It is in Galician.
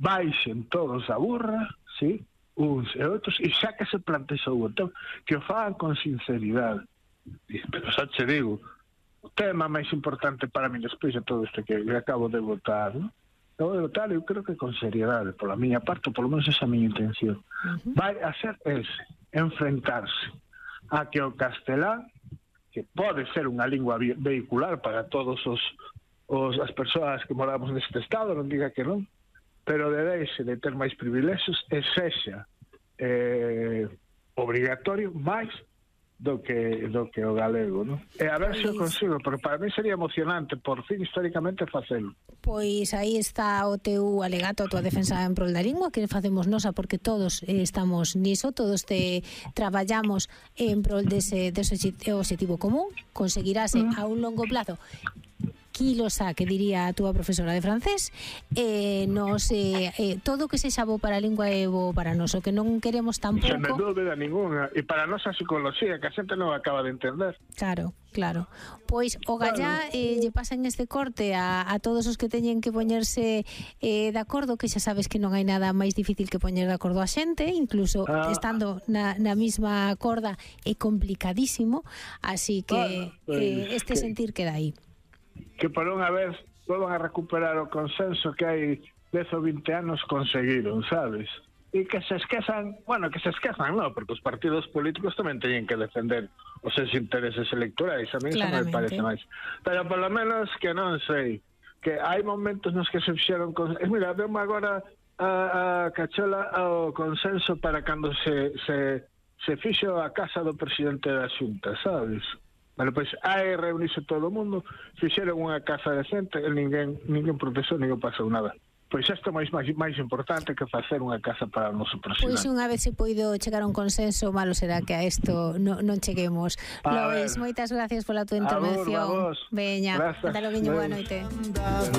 baixen todos a burra, sí, uns e outros, e xa que se plantexou o tema, que o fagan con sinceridade. Pero xa che digo, o tema máis importante para mí despois de todo isto que acabo de votar, ¿no? Acabo de votar, eu creo que con seriedade, pola miña parte, polo menos esa é a miña intención. Vai a ser ese, enfrentarse a que o castelán, que pode ser unha lingua vehicular para todos as persoas que moramos neste estado, non diga que non, pero debese de ter máis privilexios e sexa obrigatorio máis do que o galego, non? E a ver se o consigo, porque para mí sería emocionante por fin históricamente facelo. Pois aí está o teu alegato, a tua defensa en prol da lingua, que facemos nosa porque todos estamos niso, todos traballamos en prol dese objetivo común, conseguirase a un longo plazo quilosa, que diría a túa profesora de francés, todo que sexa bo para a lingua é bo para nós, o que non queremos tampouco... Sen dúbida ninguna, e para a nosa psicología, que a xente non acaba de entender. Claro. Pois o gallá lle pasa en este corte a todos os que teñen que poñerse de acordo, que xa sabes que non hai nada máis difícil que poñer de acordo a xente, incluso estando na mesma corda é complicadísimo, así que este sentir queda aí. Que por unha vez volvan a recuperar o consenso que hai 10 ou 20 anos conseguiron, sabes? E que se esquezan, non, porque os partidos políticos tamén teñen que defender os seus intereses electorais, a mí eso me parece máis. Pero polo menos que non sei, que hai momentos nos que se fixeron mira, vemos agora a cachola ao consenso para cando se fixo a casa do presidente da Xunta, sabes? Bueno, pois hai reunirse todo o mundo, fixeron unha casa decente e ninguén protestou, ninguén pasou nada. Pois isto é máis importante que facer unha casa para o noso presidente. Pois unha vez se poido chegar a un consenso, malo será que a isto non cheguemos. Lois, moitas gracias pola tua intervención. A vos. Veña, ata logo, boa noite.